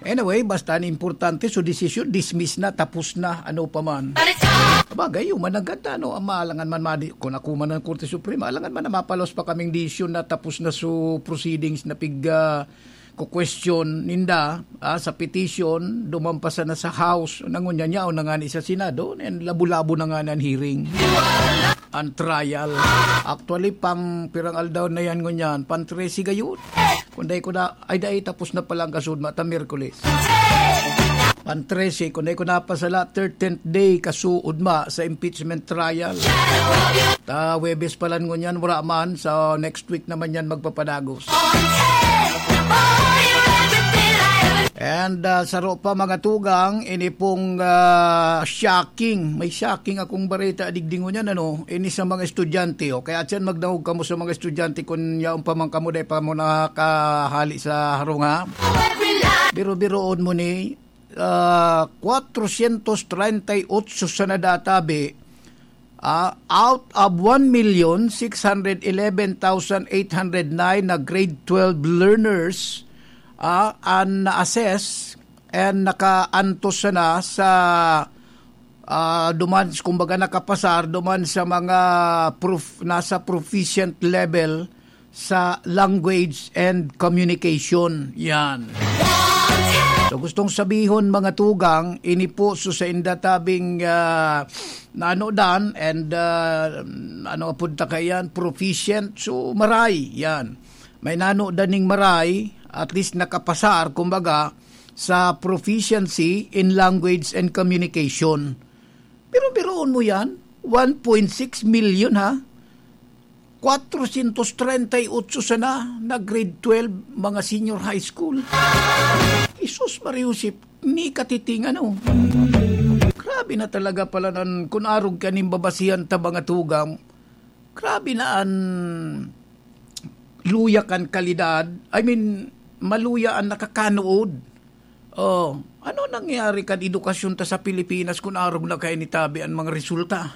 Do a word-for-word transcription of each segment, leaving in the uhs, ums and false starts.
Anyway, basta an importante, so desisyon, dismiss na, tapos na, ano pa man. Bagay, yung managad na, ano, ang maalangan man, madi, kung ako man ang Korte Suprema, alangan man na mapalos pa kaming desisyon na tapos na so proceedings na pig, ah, ko-question ninda, ah, sa petition, duman pa sana sa House, nangunyanyaw na nga ni sa Senado, and labo-labo na nga ni an hearing, an trial. Actually, pang pirang aldaw na yan ngunyan, pang trese gayon. Kung dai ko na, ay dai, tapos na pala ang kasunod, mata Miyerkules. Pang trese, kung dai ko napasala, thirteenth day kasuod ma sa impeachment trial. Ta, Huwebes pa lang ngunyan, wala man. So, next week naman yan magpapadagos. And, ah, saro pa, mga tugang, ini pong, ah, shocking. May shocking akong bareta digdi ngunyan, ano, ini sa mga estudyante, oh. Kaya tiyan, magdangog kamo sa mga estudyante kun yaon pa man kamo, dai pa mo nakahali sa harong, ha? Biro-biroon mo ni, ah, kwatrosyentos treinta y otso sana databi, ah, out of one million six hundred eleven thousand eight hundred nine na grade twelve learners, ah, an na-assess and nakaantos sana sa, ah, duman, kumbaga, nakapasar duman sa mga prof-, nasa proficient level sa language and communication. Yan. So, gustong sabihon, mga tugang, ini po so sa indatabing, ah, naanodan and, ah, ano, punta ka yan, proficient, so maray, yan. May nanodan ning maray, at least nakapasar, kumbaga, sa proficiency in language and communication. Pero biruon mo yan, one point six million, ha? Kwatrosyentos treinta y otso sana na grade twelve, mga senior high school. Jesus Maria Josep, ni katiting ano. Grabe na talaga pala nan, kun arog ka nin babasihan ta, mga tugang. Grabe na an luya kan kalidad. I mean, maluya an nakakanood. Oh, ano nangyari kan edukasyon ta sa Pilipinas kun arog na kaini tabi an mga resulta?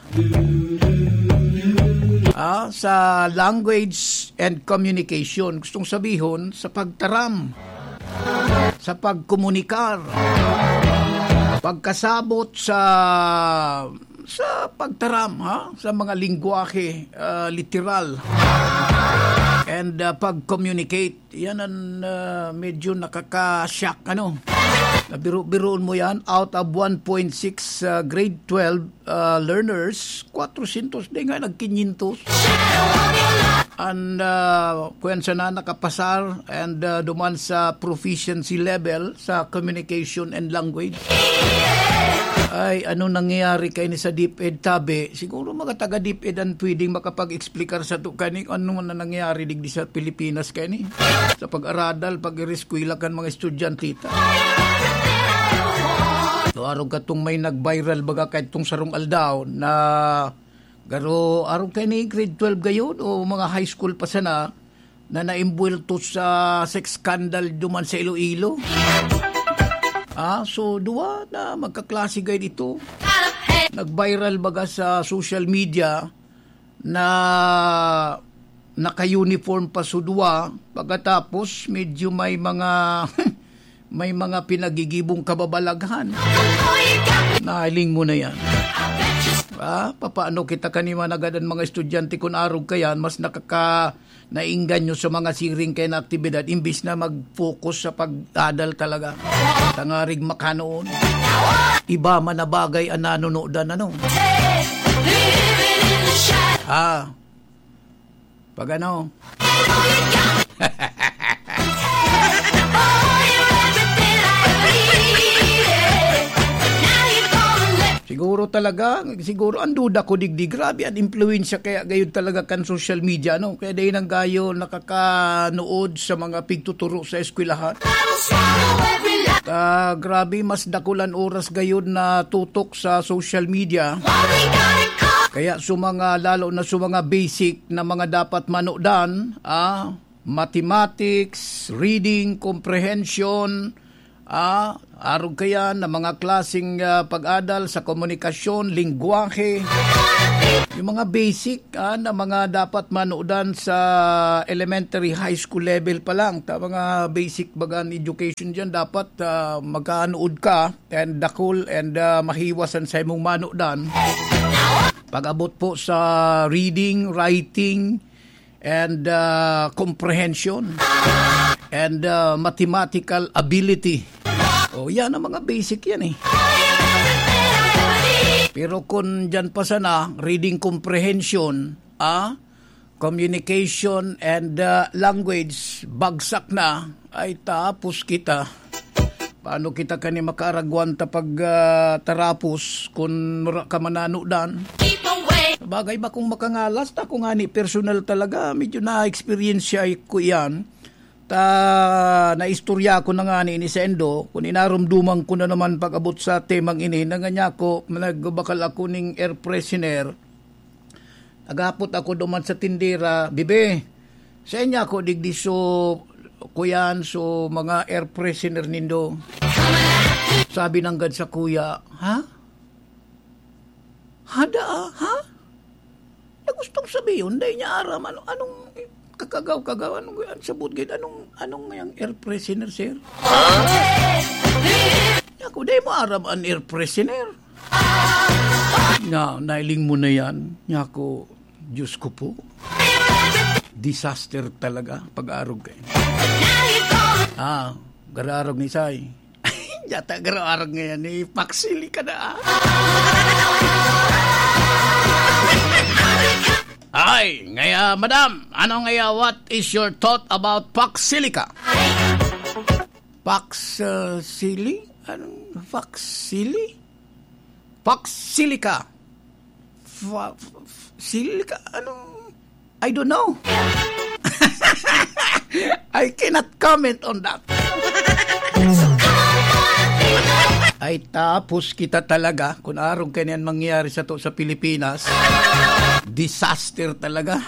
Ah, sa language and communication, gustong sabihon, sa pagtaram, sa pagkomunikar, pagkasabot sa, sa pagtaram, ha? Sa mga lengguwahe, ah, literal. And, ah, pag-communicate. Yan ang, ah, medyo nakaka-shock, ano? Nabiru-biruon mo yan, out of one point six, ah, grade twelve, ah, learners, kwatrosyentos, di nga, nag-kinyentos. And, ah, kung sana nakapasar, and, ah, duman sa proficiency level, sa communication and language. Ay, ano nangyayari kaini sa DepEd tabi? Siguro mga taga DepEd ang pwedeng makapag-explicar sato kani kung ano na nangyayari digdi sa Pilipinas kaini. Sa pag-aradal, pag-ireskwela kan mga estudyante ta. So, arog katong may nag-viral baga kaitong sarong aldaw na garo, arog kaini grade twelve gayod o mga high school pa sana, na naimbuwelto sa sex scandal duman sa Iloilo. Ah, so, duwa na magkaklase gayod ito. Nag-viral baga sa social media na naka-uniform pa so duwa, pagkatapos medyo may mga, may mga pinagigibong kababalaghan. Nahiling mo na yan. Ah, papaano kita kani managad an mga estudyante kun arog ka yan, mas nakaka-, naengganyo sa mga siring kaya na aktibidad imbis na mag-focus sa pag-adal talaga. Tangarig makanoon. Iba man na bagay ang nanunodan, ano? Ah, pag ano? Siguro talaga, siguro ang duda ko digdi, grabe ang impluwensya kaya gayud talaga kan social media, no? Kaya dahil nang gayo nakakanood sa mga pigtuturo sa eskwelahan. Ah, grabe, mas dakulan oras gayud na tutok sa social media. Kaya sa mga, lalo na sa mga basic na mga dapat manodan, ah, mathematics, reading comprehension, Ah, arog kayan na mga klaseng, ah, pag-adal sa komunikasyon, lengguwahe, yung mga basic, ah, na mga dapat manudan sa elementary, high school level pa lang. Ta mga basic bagan education diyan, dapat, ah, magkanuod ka and dakul and, ah, mahiwas an sa imong manudan. Pag-abot po sa reading, writing, and, ah, comprehension, and, ah, mathematical ability. O, yan ang mga basic yan eh. Pero kung dyan pa sana, reading comprehension, ah, communication and, ah, language, bagsak na, ay tapos kita. Paano kita kani makaaragwan ta pag, ah, tarapos kun wara ka mananudan? Bagay ba kung makangalas ta, kung ani personal talaga, medyo na-experience ko iyan. Ta naistorya ko na nga ni ini sa endo, kun inarumduman ko na naman pag-abot sa temang ini, na nga niya ako, nagbakal ako ning air freshener. Nagapot ako duman sa tindera, "Bibi, saan niya ako digdi so, kuyan, so mga air freshener nindo?" Sabi nanggad sa kuya, "Ha? Hada, ah? Ha?" Na gustong sabihin, dai niya aram, ano, anong kakagaw-kagaw, anong, ang sabot gid, anong, anong yang air freshener, sir? Ako, dai mo aram an air freshener? Na, nailing mo na yan. Niya ako, Diyos ko po. Disaster talaga, pag-arog kayo. Ah, gararog ni Say. Yata gararog ngayon, eh, paksili ka na, ah. Ay, ngaya, madam, ano ngaya, what is your thought about paksili ka? Paks, uh, sili? Anong paksili? Paksili ka. Fa-, f-, f-, sili ka? Anong, I don't know. I cannot comment on that. Ay, tapos kita talaga. Kung arog kaniyan mangyari sa to sa Pilipinas, disaster talaga.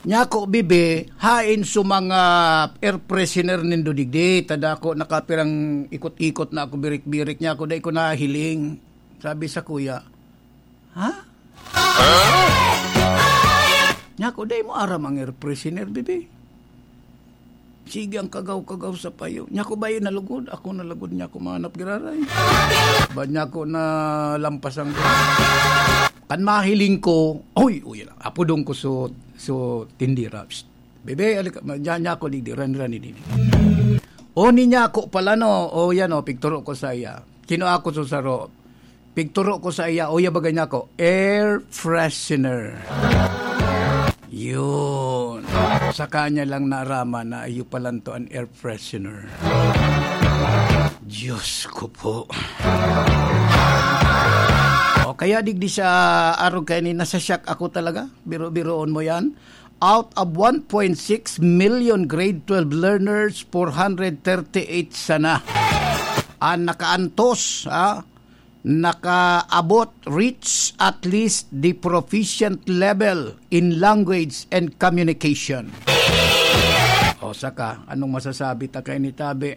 Nyako, bibi, hain sa mga air freshener nindo digdi, tada ako nakapirang ikot-ikot na ako, birik-birik niya ako, dai ko nahiling. Sabi sa kuya, "Ha?" Nyako, dai mo aram ang air freshener, bibi. Sige ang kagaw-kagaw sa payo. Nyako, bayo nalugod. Ako nalugod niya ako manap giraray. Ba niya ako nalampas ang kan mahiling ko, "Oy, uy, apodong ko so, so tindira." Psst. Bebe, alika, ma-, diyan niya ako, di, di, ran, ran, di, di. O, ni niya ako pala, no? O, yan, o, pigturo ko sa iya. Kinua ko sa saro. Pigturo ko sa iya, o, ya, bagay niya ako, air freshener. Yun. Sa kanya lang naaraman na iyo palan to an air freshener. Diyos ko po. O, kaya digdi sa arog kaini, nasa-shock ako talaga. Biro-biroon mo yan. Out of one point six million grade twelve learners, four hundred thirty-eight sana an nakaantos, ah, nakaabot, reach at least the proficient level in language and communication. O saka, anong masasabi ta kay ni Tabi?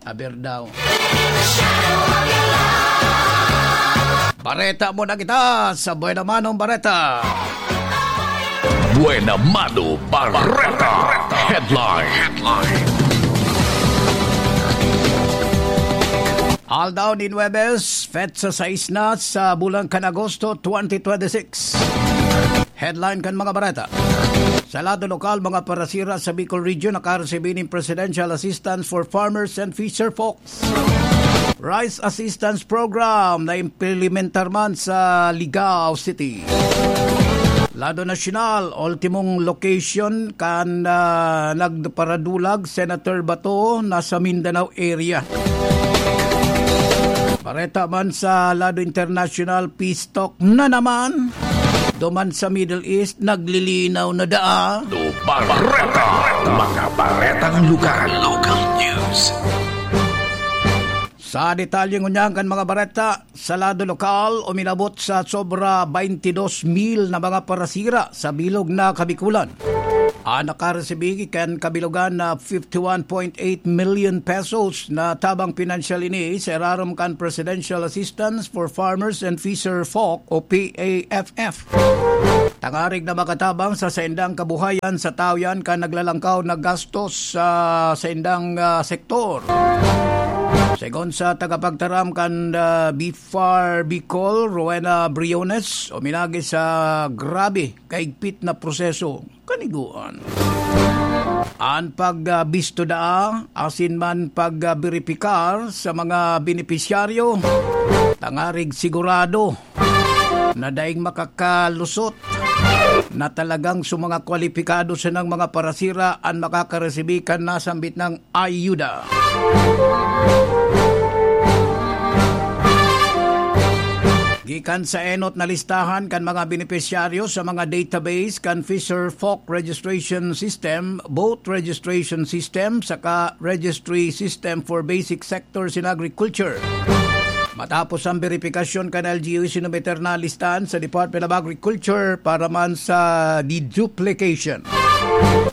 Aber daw. Bareta muna kita sa Buena Manong Bareta. Buena Mano Bareta. Headline. Aldaw nin Huwebes, petsa sais na sa bulan kan Agosto twenty twenty-six. Headline kan mga bareta. Sa lado lokal, mga parasira sa Bicol Region nakaresibi nin Presidential Assistance for Farmers and Fisherfolk. Rice Assistance Program na implementar man sa Ligao City. Lado nasyonal, ultimong location kan, ah, nagparadulag, Senator Bato, nasa Mindanao area. Bareta man sa lado internasyonal, peace talk na naman. Duman sa Middle East, naglilinaw na daa. Bareta. Mga baretang lugar. Local news. Sa detalye ngunyan kan mga bareta, sa lado lokal, uminabot sa sobra twenty-two mil na mga parasira sa bilog na Kabikulan. An nakaresibi kan kabilogan na fifty-one point eight million pesos na tabang pinansyal ini sa irarom kan Presidential Assistance for Farmers and Fisher Folk o P A F F. Tangarig na makatabang sa saindang kabuhayan sa tawo yan kan naglalangkaw na gastos sa saindang, ah, sektor. Segun sa tagapagtaram kan, ah, BFAR Bicol, Rowena Briones, uminagi sa grabe kaigpit na proseso kaniguan. An pagbisto daa asin man pagberipikar sa mga benepisyaryo, tangarig sigurado na daing makakalusot na talagang sa mga kwalipikado sanang mga parasira an makakaresibi kan nasambit nang ayuda. Gikan sa enot na listahan kan mga benepisyaryo sa mga database kan Fisher Folk Registration System, Boat Registration System, saka Registry System for Basic Sectors in Agriculture. Matapos ang beripikasyon kan L G U, sinumiter na listahan sa Department of Agriculture para man sa deduplication.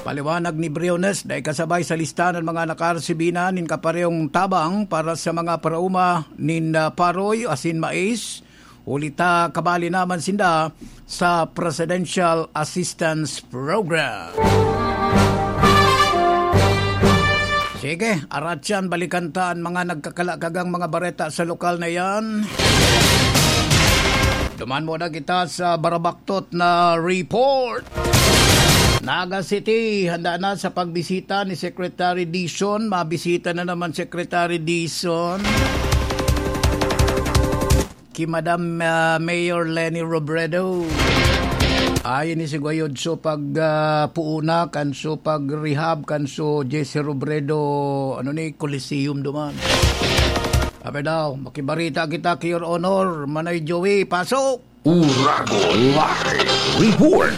Paliwanag ni Briones, dai kasabay sa listahan ang mga nakaresibi na nin kaparehong tabang para sa mga parauma nin, ah, paroy asin mais, huli ta kabali naman sinda sa Presidential Assistance Program. Sige, aratyan, balikan ta an mga nagkakalakagang mga bareta sa lokal na yan. Duman muna kita sa barabaktot na report. Naga City, handa na sa pagbisita ni Secretary Dizon. Mabisita na naman Secretary Dizon ki Madam, ah, Mayor Leni Robredo. Ay, ini si Guayodso pag, ah, puuna, kanso pag rehab, kanso Jesse Robredo, ano ni, Coliseum duman. Sabi daw, makibarita kita ki Your Honor, Manoy Joey, pasok! Uragon Live Report.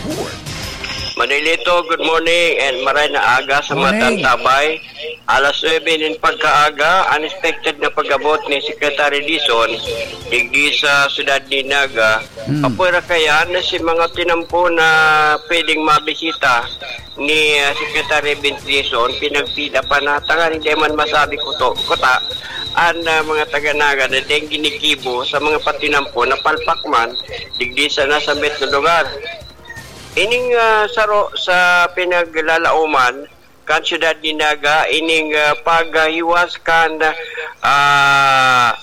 Manilito, good morning and maray na aga sa mga Morning. Tantabay. Alas nuebe nin pagkaaga, unexpected na pag-abot ni Secretary Dizon digdi sa siyudad ni Naga. Hmm. Apwera kayan na si mga tinampo na pwedeng mabisita ni, ah, Secretary Vince Dizon, pinagpila pa na tanganing di man masabi kuto, kuta, an, ah, mga taga Naga na deng ginigibo sa mga patinampo na palpak man digdi sa nasambit na lugar. Ining, ah, saro sa pinaglalaoman kan siyudad ni Naga, ining, ah, paghiwas kan, ah,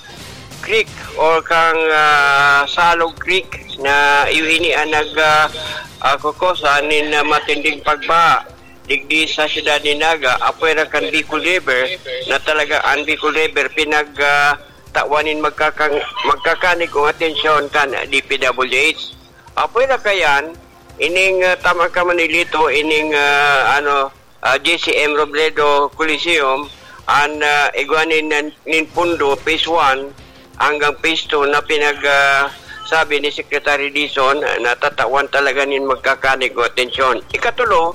creek or kang, ah, Salog Creek na iyo ini ang nag, ah, ah, kukosa nin, ah, matinding pagbaha digdi sa siyudad ni Naga, apwera kan Bicol River, na talaga ang Bicol River pinag, ah, tawan nin magkakang-, magkakanigong atensyon kan D P W H. Apwera kayan, ining, ah, tama ka, Manilito, ining, ah, ano, ah, J C M Robredo Coliseum, an, ah, igwa nin, nin pundo, phase one, hanggang phase two na pinag, ah, sabi ni Secretary Dizon, ah, natatawan talaga nin magkakanigong atensyon. Ikatulo,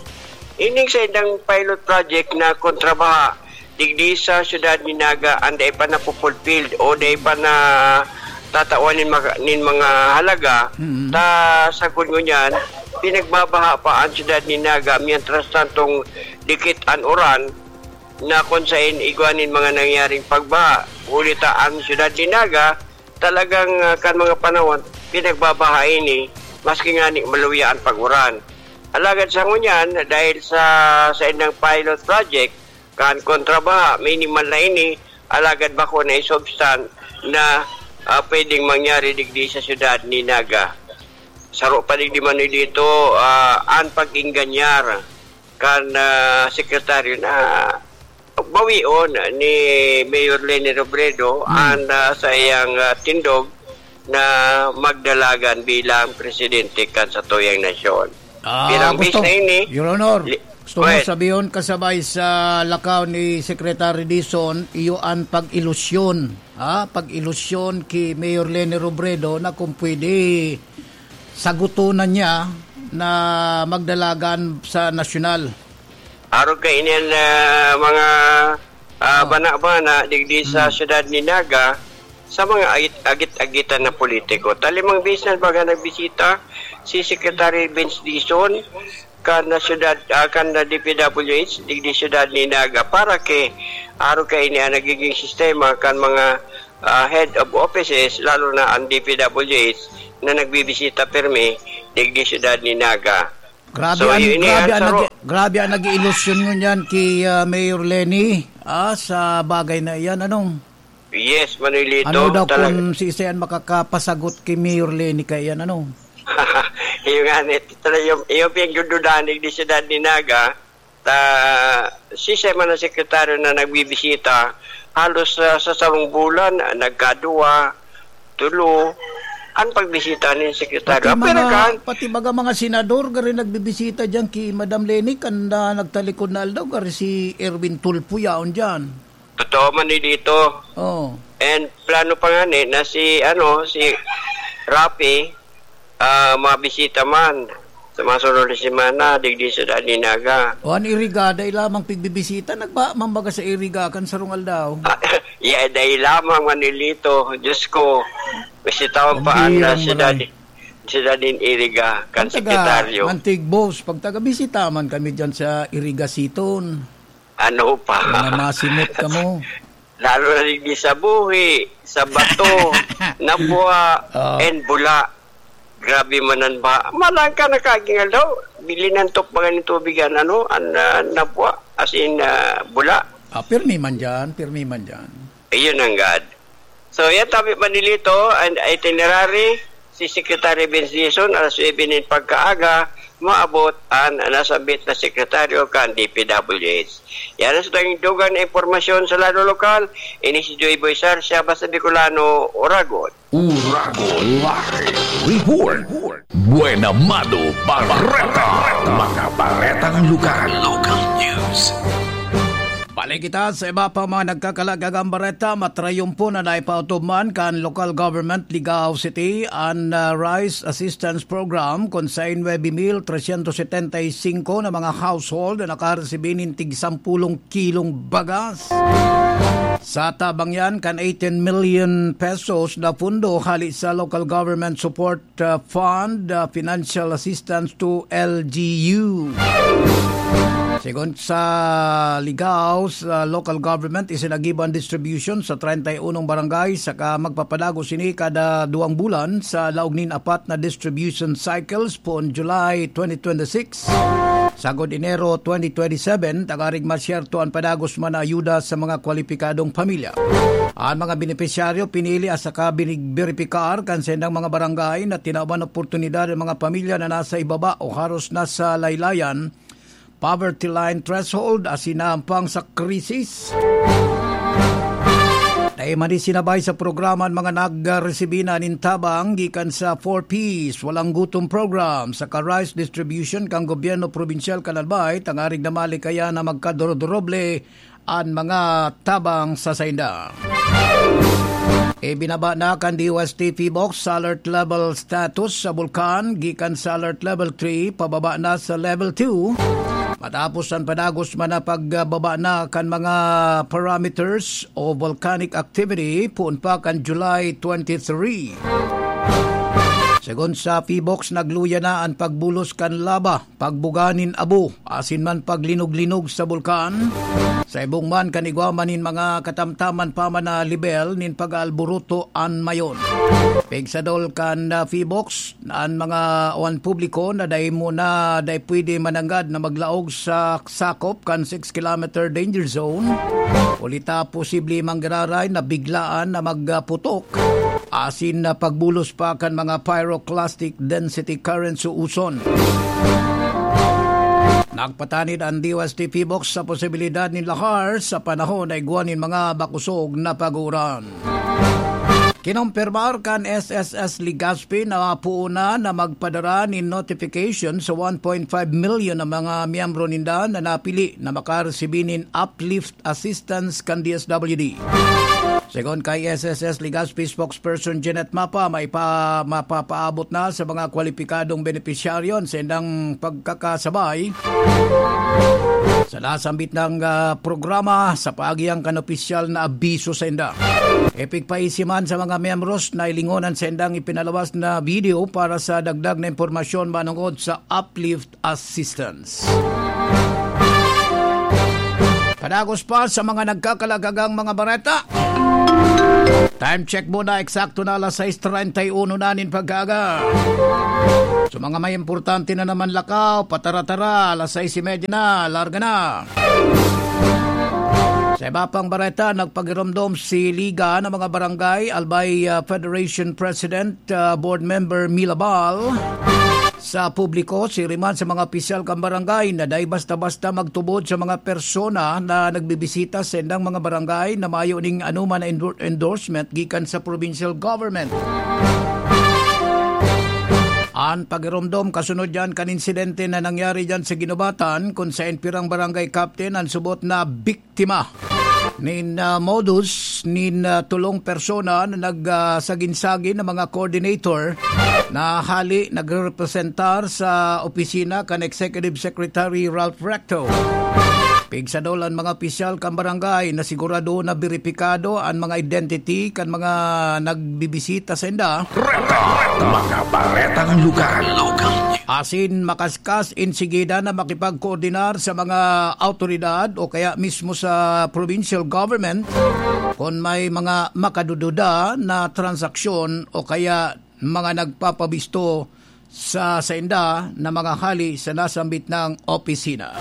ining saindang pilot project na kontrabaha, digdi sa siyudad ni Naga, an dai pa napupulfilled o dai pa na tatawan nin mga, nin mga halaga, Mm. ta sagkod ngunyan, pinagbabaha pa an siyudad ni Naga, mientras tantong dikit an uran, na kun saen igwa nin mga nangyaring pagbaha. Huli ta an siyudad ni Naga, talagang, ah, kan mga panahon, pinagbabaha ini, maski ngani maluya an pag-uran. Alagad sa ngunyan, dahil sa, sa indang pilot project, kan kontrabaha, minimal na ini, alagad bako na isubstan na, ah, pwedeng mangyari digdi sa siyudad ni Naga. Saro pa digdi man dito, ah, an pag-ingganyar kan, ah, sekretaryo na bawion ni Mayor Leni Robredo Hmm. an, ah, sa iyang, ah, tindog na magdalagan bilang presidente kan satuyang nasyon. Ah, Pirang gusto, bis na ini, Your Honor, li-, gusto mo Well, sabihon kasabay sa lakaw ni Secretary Dizon, iyo an pag-ilusyon, ha? Pag-ilusyon ki Mayor Leni Robredo na kung pwede sagutonan niya na magdalagan sa nasyonal. Arog kaini an, ah, mga, ah, Oh. bana-bana digdi sa Hmm. siyudad ni Naga, sa mga agit-, agit-agitan na politiko. Ta limang beses na baga nagbisita si Secretary Vince Dizon, kan na syudad, ah, kan na D P W H digdi syudad ni Naga, para ki arog kaini an nagiging sistema kan mga, ah, head of offices, lalo na an D P W H na nagbibisita pirmi digdi syudad ni Naga. Grabe So, an, yun grabe yan, an saro. nag-, grabe an nag-iilusyon ngunyan ki, ah, Mayor Leni, ah, sa bagay na iyan, ano? Yes, Manolito, Ano daw talaga. kung si Isayan makakapasagot ki Mayor Leni kaiyan, ano? Iyo nga, ni, talaga yung, yung pinagdududahan digdi syudad ni Naga, ta, si siya man ang sekretaryo na nagbibisita, halos sa, sa sarong bulan, ah, nagkadua, tulo, ang pagbisita ni sekretaryo. Pati Ah, pero mga, kan pati baga mga senador, gari nagbibisita diyan ki Madam Leni, kan, ah, nagtalikod na aldaw, gari si Erwin Tulfo yaon diyan. Totoo man ni dito. Oh. And plano pa nga ni na si, ano, si Rafi, ah, mabisita man sa mga sunod na semana, digdi sa Dad ni Naga. O, an Iriga, dai lamang pigbibisita, nagba-, mambaga sa Iriga kan sarong aldaw. Ah, yeah, dai lamang, Manolito. Diyos ko, bisitahon Ang pa ang, hirang ah, siyudad, maray. siyudad nin Iriga, kan Pag taga sekretaryo. Antigbos, pag taga-bisita man kami dyan sa Iriga Siton. Ano pa? Mga masimot kamo. Lalo na digdi sa buhi, sa bato, nabwa, Oh. and bula. Grabe man an ba. Malang ka nakaging aldaw, bili ng tupbagan ng tubig yan, ano, an, ah, nabwa, as in, ah, bula. Ah, pirmi man dyan, pirmi man dyan. Ayun ang God. So, yan, tabi Manolito, an itinerary, si Secretary Vince Dizon, alas nuebe nin pagkaaga, maabot an nasambit na sekretaryo kan D P W H. Yan ang sa tayong dugang na impormasyon sa lado lokal. Ini si Joy Boy Sarsia, basta Bicolano, Uragon. Uragon Live Report. Buena Mano Barreta. Mga baretang lugar. Local news. Balik kita sa iba pa mga nagkakalagang bareta. Matrayumpo na naipautubman kan Local Government Ligao City an, ah, Rice Assistance Program, kun sa nuebe mil tresyentos setenta y singko na mga household na nakaresibi nin tig sampulong kilong bagas. Sa tabang yan, kan eighteen million pesos na pundo hali sa Local Government Support, ah, Fund, ah, Financial Assistance to L G U. Segun sa Ligao, sa local government, isinagibo an distribution sa treinta y unong barangay, saka magpapadagos ini kada duwang bulan sa laog nin apat na distribution cycles poon July twenty twenty-six sagod Enero twenty twenty-seven, tangarig masyerto an padagos man na ayuda sa mga kwalipikadong pamilya. An mga benepisyaryo pinili at saka binig-, beripikar kan saindang mga barangay na tinawan oportunidad an mga pamilya na nasa ibaba o haros nasa laylayan, poverty line threshold, asin nahampang sa krisis. Dai man isinabay sa programa an mga nagresibi na nin tabang gikan sa four Ps, Walang Gutom Program, saka rice distribution kan gobyerno probinsyal kan Albay, tangarig na malikayan na magkadorobdoble an mga tabang sa sainda. Ibinaba na kan D O S T PHIVOLCS sa alert level status sa bulkan, gikan sa alert level three, pababa na sa level two. Matapos an padagos man na pagbaba na kan mga parameters o volcanic activity, poon pa kan July twenty-three. Segun sa PHIVOLCS, nagluya na an pagbulos kan laba, pagbuga nin abo, asin man paglinog-linog sa bulkan. Sa ibong man kan igwa man nin mga katamtaman pa man na lebel nin pag-aalburuto an mayon. Pigsadol kan, ah, PHIVOLCS, an mga, o an publiko na dai mo na, dai pwede mananggad na maglaog sa sakop kan six kilometer danger zone. Huli ta posible manggararay na biglaan na magputok, asin na pagbulos pa kan mga pyroclastic density currents o uson. Nagpatanid an D O S T PHIVOLCS sa posibilidad nin lahar sa panahon na igwa nin mga bakosog na pag-uuran. Kinompirmar kan S S S Legazpi na puuna na magpadara nin notification sa one point five million na mga miyembro ninda na napili na makaresibi nin uplift assistance kan D S W D. Segun kay S S S Legazpi spokesperson Jeanette Mapa, may pa, mapapaabot na sa mga kwalipikadong benepisyaryo an saindang pagkakasabay sa nasambit na, ah, programa sa paagi kan opisyal na abiso sainda. Ipigpaisi man sa mga miyembros na hilingon an saindang ipinalabas na video para sa dagdag na impormasyon manungod sa Uplift Assistance. Padagos pa sa mga nagkakalagagang mga bareta. Time check muna, eksakto na alas sais treinta y uno na nin pag-aaga. So, mga may importante na naman lakaw, patara-tara, alas sais y media na, larga na. Sa iba pang bareta, nagpagiromdom si Liga ng mga Barangay Albay, ah, Federation President, ah, Board Member Milabal sa publiko, siring man sa mga opisyal kan barangay na dai basta-basta magtubod sa mga persona na nagbibisita sa saindang mga barangay na mayo ning anoman na endor-, endorsement gikan sa provincial government. An pagiromdom kasunod diyan kan insidente na nangyari diyan sa Guinobatan, kun saen pirang barangay captain an subot na biktima nin, ah, modus nin, ah, tolong persona na nag, ah, sagin-sagin na mga coordinator na hali nagrepresentar sa opisina kan Executive Secretary Ralph Recto. Pigsadol an mga opisyal kan barangay na sigurado na beripikado an mga identity kan mga nagbibisita sainda. Reta, mga baretang lugar. Asin makaskas insigida na makipagkoordinar sa mga awtoridad o kaya mismo sa provincial government kun may mga makadududa na transaksyon o kaya mga nagpapabisto sa sainda na mga hali sa nasambit na opisina.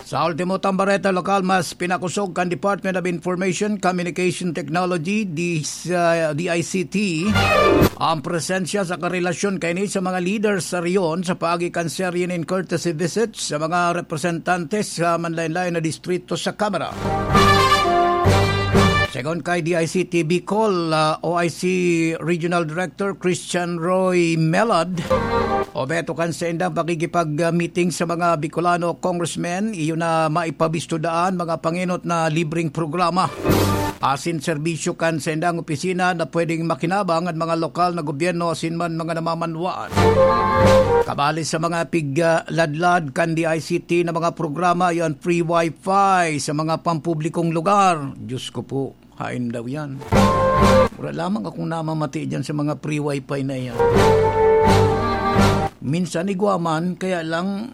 Sa ultimo tang bareta lokal, mas pinakosog kan Department of Information Communication Technology, D-, sa D I C T, ang presensya sa karelasyon kaini sa mga leaders sa rehiyon sa paagi kan serye nin courtesy visits sa mga representantes sa manlaen-laen na distrito sa Kamara. Segun kay D I C T Bicol, ah, O I C Regional Director Christian Roy Melad, obheto kan saindang pakikipag-meeting sa mga Bicolano congressmen, iyo na maipabisto daan mga pangenot na libreng programa asin serbisyo kan saindang opisina na pwedeng makinabang an mga lokal na gobyerno asin man mga namamanwaan. Kabali sa mga pigladlad kan D I C T na mga programa, iyo an free wifi sa mga pampublikong lugar. Diyos ko po, haen daw yan? Wala lamang akong namamati dyan sa mga free wifi na yan. Minsan igwa man, kaya lang,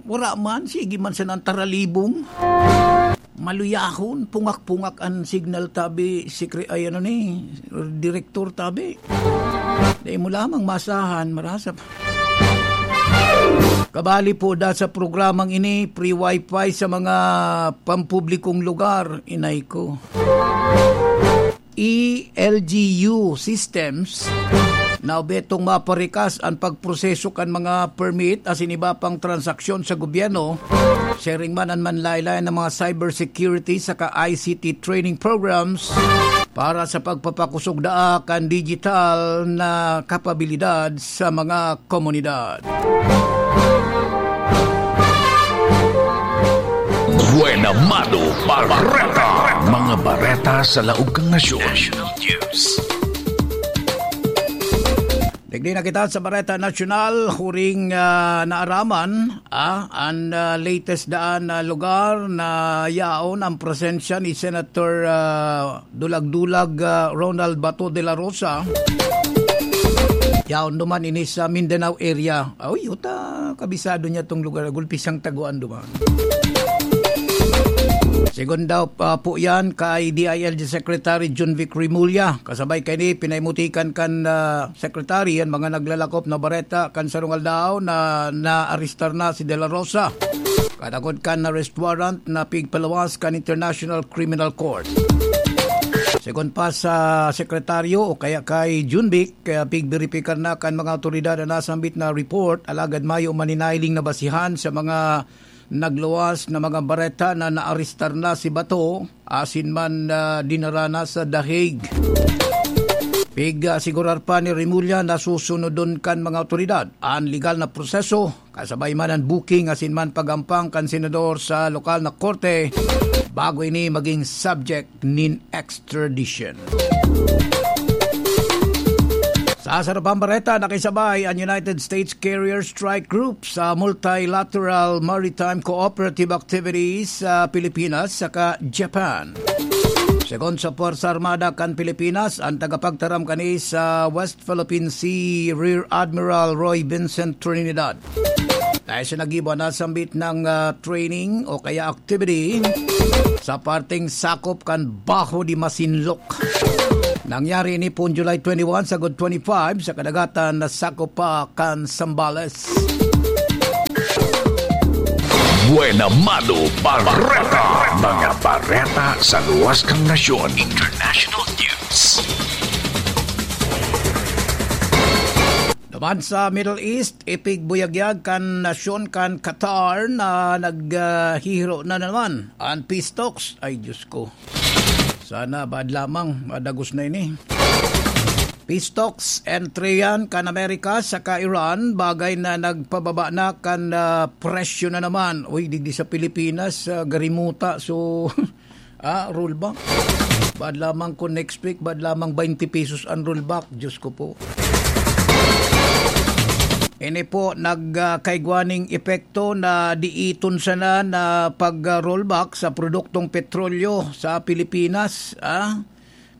wala man, sige man sanang taralibong. Maluyahon, pungak-pungak an signal tabi, sikre-, ay, ano ni, direktor tabi. Dai mo lamang masahan, marasa pa. Kabali po da sa programang ini, free wifi sa mga pampublikong lugar, inay ko. E L G U systems na obhetong maparikas an pagproseso kan mga permit asin iba pang transaksyon sa gobyerno, siring man an manlaylay na mga cybersecurity saka I C T training programs para sa pagpapakosog daa kan digital na kapabilidad sa mga komunidad. Buena Mano Bareta. Mga bareta sa laog kan nasyon. National News. Digdi na kita sa Bareta Nasyonal, huring, ah, naaraman, ah, an, ah, latest daan na lugar na yaon ang presensya ni Senator, ah, Dulag-dulag, ah, Ronald Bato de la Rosa. Yaon duman ini sa Mindanao area. Uy, uta, kabisado niya tong lugar. Gulpi siyang taguan duman. Segun daw pa po yan kay D I L G Secretary John Vic Remulla. Kasabay kaini, pinaimutikan kan, ah, Secretary an mga naglalakop na bareta kan sarong aldaw na naarestar na si De La Rosa. Katagod kan arrest warrant na pigpaluwas kan International Criminal Court. Segun pa sa sekretaryo o kaya kay Junbic, kaya pigberipikar na kan mga awtoridad an nasambit na report, alagad mayo man hinihiling na basihan sa mga nagluwas na mga bareta na naarestar na si Bato asin man, ah, dinara na sa The Hague. Pig-asigurar pa ni Remulla na susunodon kan mga awtoridad an legal na proseso kasabay man an booking asin man pag-ampang kan senador sa lokal na korte bago ini maging subject nin extradition. Sa sarabang bareta, nakisabay an United States Carrier Strike Group sa multilateral maritime cooperative activities sa Pilipinas saka Japan. Segun sa Puwersa Armada kan Pilipinas, an tagapagtaram kani sa West Philippine Sea, Rear Admiral Roy Vincent Trinidad. Dahil sa nag-iba na sambit ng, ah, training o kaya activity sa parteng sakop kan Baho de Masinloc. Nangyari ini pon July twenty-one sagod twenty-five sa kadagatan na sakop pa kan Zambales. Buena Mano Bareta. Mga bareta sa luwas kan nasyon. International news. Naman sa Middle East, ipigbuyagyag kan nasyon kan Qatar na naghihiro na naman an peace talks. Ay, Diyos ko. Sana bad lamang, madagos na ini. Peace talks entre yan kan Amerika saka Iran, bagay na nagpababa na kan, ah, presyo na naman. Uy, digdi sa Pilipinas, ah, garimuta. So, ah, rollback. Bad lamang kung next week, bad lamang twenty pesos ang rollback. Diyos ko po. Ini po, nag, ah, kaigwaning epekto na diiton sana na pag, ah, rollback sa produktong petrolyo sa Pilipinas, ah.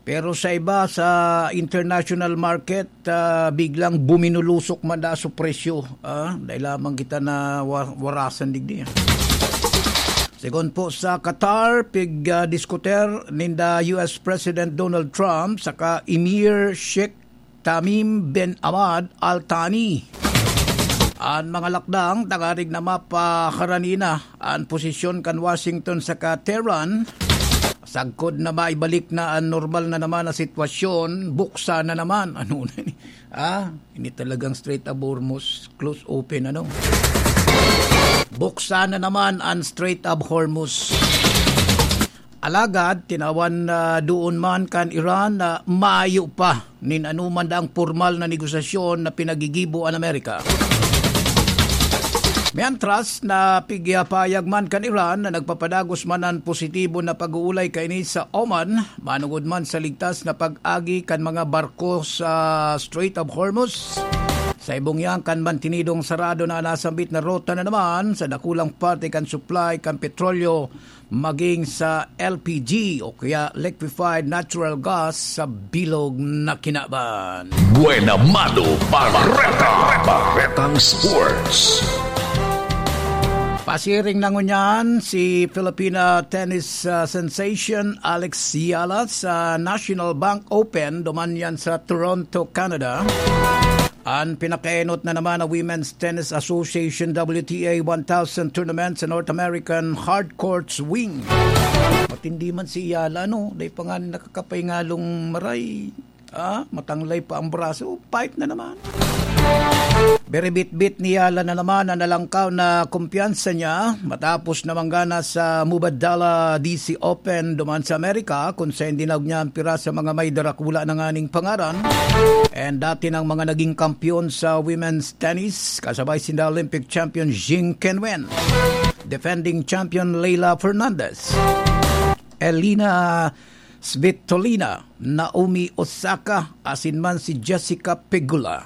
Pero sa iba, sa international market, ah, biglang buminulusok man da su presyo, ah. Dahil lamang kita na wa-, warasan digdi, ah. Segun po sa Qatar, pig, ah, diskuter ninda U S President Donald Trump saka Emir Sheikh Tamim bin Hamad Al Thani an mga lakdang tangarig na mapaharani na an posisyon kan Washington saka Tehran. Sagkod na maibalik na an normal na naman na sitwasyon, buksan na naman. Ano na ni? Ah, ini talagang Strait of Hormuz, close open, ano? Buksan na naman an Strait of Hormuz. Alagad, tinawan na doon man kan Iran na mayo pa nin anuman daang pormal na negosasyon na pinagigibo an Amerika. Mientras na pigpapahayag man kan Iran na nagpapadagos man an positibo na pag-uulay kaini sa Oman, manungod man sa ligtas na pag-agi kan mga barko sa Strait of Hormuz. Sa ibong yan kan mantenidong sarado na nasambit na rota na naman sa dakulang parte kan supply kan petrolyo maging sa L P G o kaya liquefied natural gas sa bilog na kinaban. Buena Mano Bareta. Baretang Sports. Pasiring na ngunyan si Filipina tennis, ah, sensation Alex Eala sa National Bank Open, duman yan sa Toronto, Canada. An pinakaenot na naman na Women's Tennis Association, W T A one thousand tournament sa North American Hard Courts Wing. Matindi man si Eala, no? Dai pa nga nakakapahingalong maray. Ah, matanglay pa ang braso. Fight na naman. Biribitbit ni Eala na naman ang nalangkaw na kumpiyansa niya matapos na manggana sa Mubadala D C Open duman sa Amerika, kung saan dinaog niya ang pira sa mga may darakula na nganing pangaran. And dati ng mga naging kampiyon sa women's tennis, kasabay sinda Olympic champion Jing Qinwen, defending champion Leylah Fernandez, Elina Svitolina, Naomi Osaka, asin man si Jessica Pegula.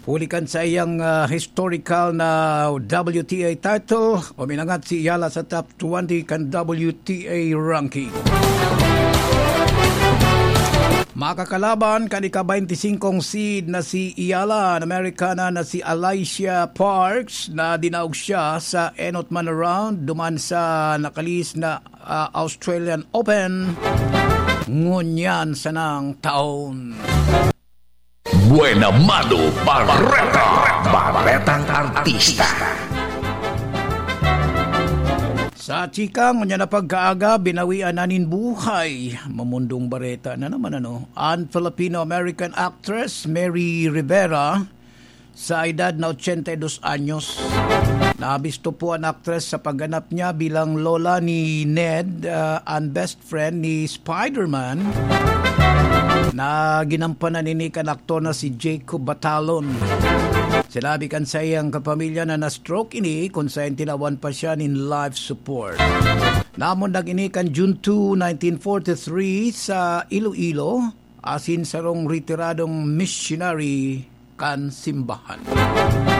Huli kan saiyang, ah, historical na W T A title, uminangat si Eala sa top twenty kan W T A ranking. Makakalaban kan ika-twenty-five seed na si Eala, an Amerikana na si Alycia Parks, na dinaog siya sa enot man na round duman sa nakalihis na, ah, Australian Open ngunyan sanang taon. Buena Mano Bareta. Baretang Artista. Sa chika, ngunyan na pagkaaga, binawian na nin buhay. Mamundong bareta na naman, ano? An Filipino-American actress Mary Rivera, sa edad na ochenta y dos anyos. Nabisto po an aktres sa pagganap niya bilang lola ni Ned, ah, an best friend ni Spider-Man, na ginampanan ini kan aktor na si Jacob Batalon. Sinabi kan saiyang kapamilya na na-stroke ini kun saen tinawan pa siya nin life support. Namundag ini kan June two, nineteen forty-three sa Iloilo, asin sarong retiradong missionary kan simbahan.